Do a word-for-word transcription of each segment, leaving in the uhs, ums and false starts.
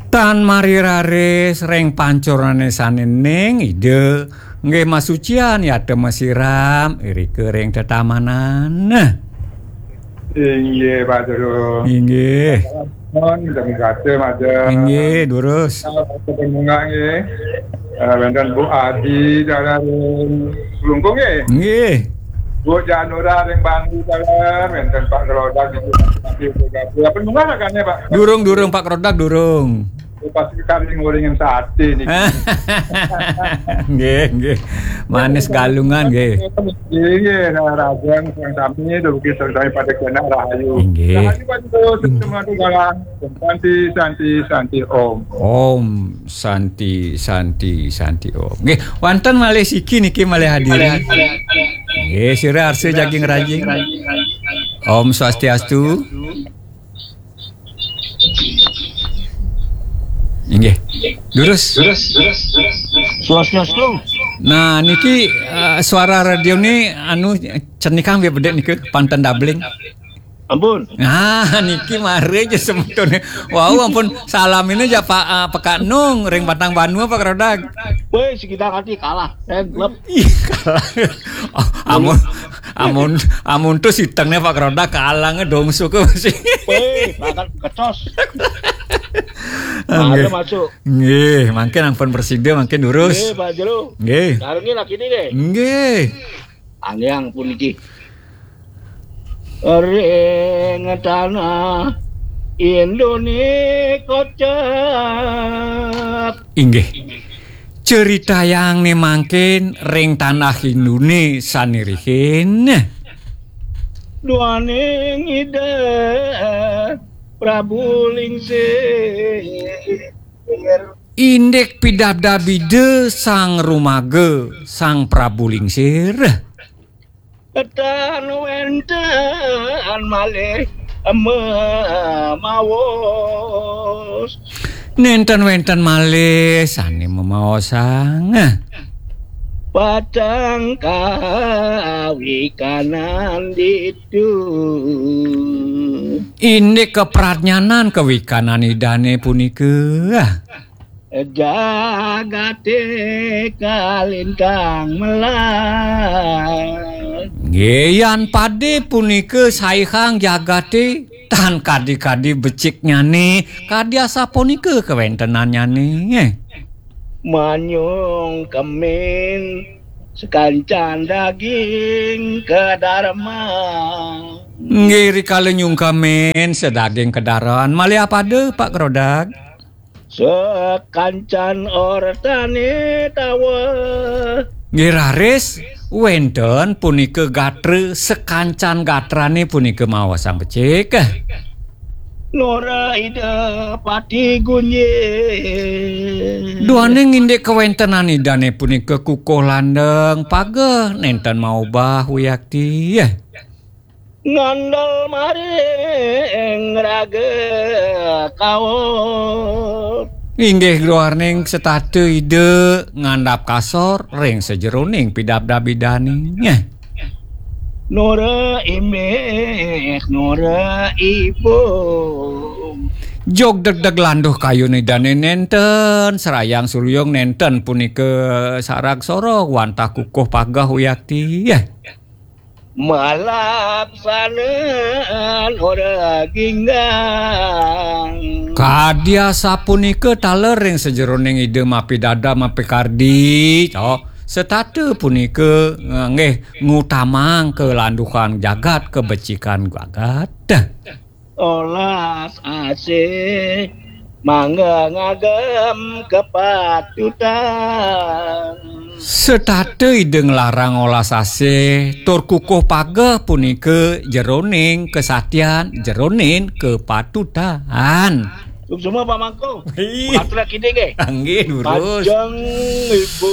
Tan mari raris ring pancorané sané ning Ida nggih masucian yata masiram irika ring tetamanan. Inggih, Pak Durus. Inggih. Nuwun, jam satu, Mas. Inggih, durus. Bunga nggih. Eh, wénten Bu Adi, dalan Klungkung nggih. Nggih. Bu Janura ring Bangli, dalan wénten Pak Kelodak di Bangli. Apa bunga ragané, Pak? Durung, durung, Pak Kelodak, durung. Pas kali nguringin sate niki. Nggih, nggih. Manis Galungan nggih. Nggih, nggih, rahayu sareng sami, dugi sareng sami pada kenak rahayu. Inggih. Rahayu Pak Durus, semua tu galang. Santi, santi, santi, Om. Om Santi, Santi, Santi, Om. Nggih, wonten malih siki niki malih hadirin. Nggih, sira arsa jaging rajing. Om Swastiastu. Inggih. Durus. Swastiastu. Nah, niki, eh, suara radio ni anu cenikang nggih bedek nika, panten doubling. Ampun. Nah, niki mari aja semetone. Wau ampun salam ini aja Pak, eh, Pekak Nung ring Batang Banua, Pak Kelodak. Woi, sekitar hati kalah. Eh, klub. Ih, kalah. Oh, amun, amun, amun tuh sitengnya Pak Kelodak kalah ngedongso ke masih. Woi, bakal kecos. Nggih. Ada masuk. Nggih, mangkin ampun presida, mangkin durus. Nggih, Pak Jero. Nggih. Sarengin lagi ini deh. Nggih. Angiang puniki. Ring tanah Indone kocap. Inggih. Ceritayang ne mangkin ring tanah Indone sane rihin. Duaning Ida Prabu Lingsir. Indik pidabdabida Sang Rumaga, Sang Prabu Lingsir. Ketan wenten malih memaos. Nenten wenten malih sane memaosang. Patang kawikanan ditu. Indik kapradnyanan kawikanan Idane punika. Jagate kalintang melar. Nggih, yan pade punika saihang jagate tan kadi-kadi beciknyane, kadi asapunika kawentenannyane. Manyung kemin sakancan daging kadarma. Nggih, rikala nyungkemin sadaging kadaran, malih apada, Pak Kerodak? Sakancan ortane tawa. Nggih raris, wenten punika gatra, sakancan gatrane punika maosang becik. Nora Ida Pati Gunjing. Duaning indik kawentenan Idane punika kukuh landeng, pageh nenten maubah wiakti. Ngandel maring raga kaur. Inggih duaning setata Ida ngandhap kasor ring sajeroning pidabdab Idane. Nora imbih, nora ibu. Jog degdeg landuh kayun Idane nenten, serayang suryung nenten punika sarag soroh wantah kukuh pageh wiakti. Malaksanan ora ginggang. Kadi asapunika taler ring sajeroning Ida mapidabdab mapikardi, cok. Setata punika, eh, nggih ngutamang kalanduhan jagat, kabecikan jagat. Olas asih mangga ngagem kepatutan. Setata Ida nglarang olas asih tur kukuh pageh punika jeroning kesatian, jeroning kepatutan. Suksma Pak Mangku. Ih. Pengatur kidik nggih. Nggih, durus. Majeng Ibu,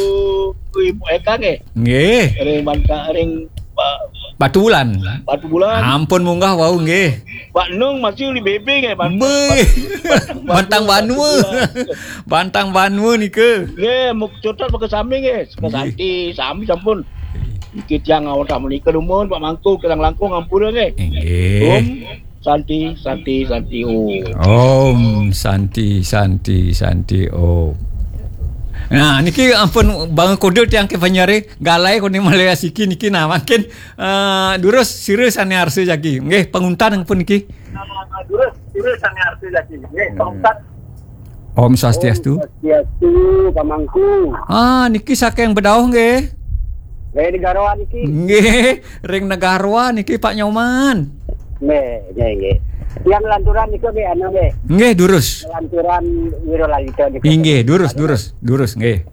Ibu Eka nggih. Nggih. Ring Banta-, ring Pak Batu Bulan. Batu Bulan. Ampun munggah wau nggih. Pak Nung masih uli bebe nggih, Pak. Beh. Pak, Pak, Bantang Pak Banua. Batu Bulan. Bantang Banua nika. Nggih, muk cutat pakai sami nggih. Nggih. Santi, sami sampun. Niki tiang awak tak menika dumun, Pak Mangku, kirang langkung ampura nggih. Inggih. Om Santi, Santi, Santi Om. Om Santi, Santi, Santi Om. Nah, niki ampun bang kode tiang ke panyare galai kone malaya siki niki nah makin uh, durus sira sane arsa jagi. Nggih, panguntan ampun niki. Durus, durus sane arsa jagi. Nggih, panguntan. Om Swastiastu. Swastiastu, Pak Mangku. Ah, niki saking bedauh nggih. Nggih, Negara niki. Nggih, ring Negara niki Pak Nyoman. Nggih, nggih, nggih. Yang lanturan niku nggih anu nggih. Nggih, durus. Lanturan Wiro Lalita niku. Inggih, durus, durus, durus nggih.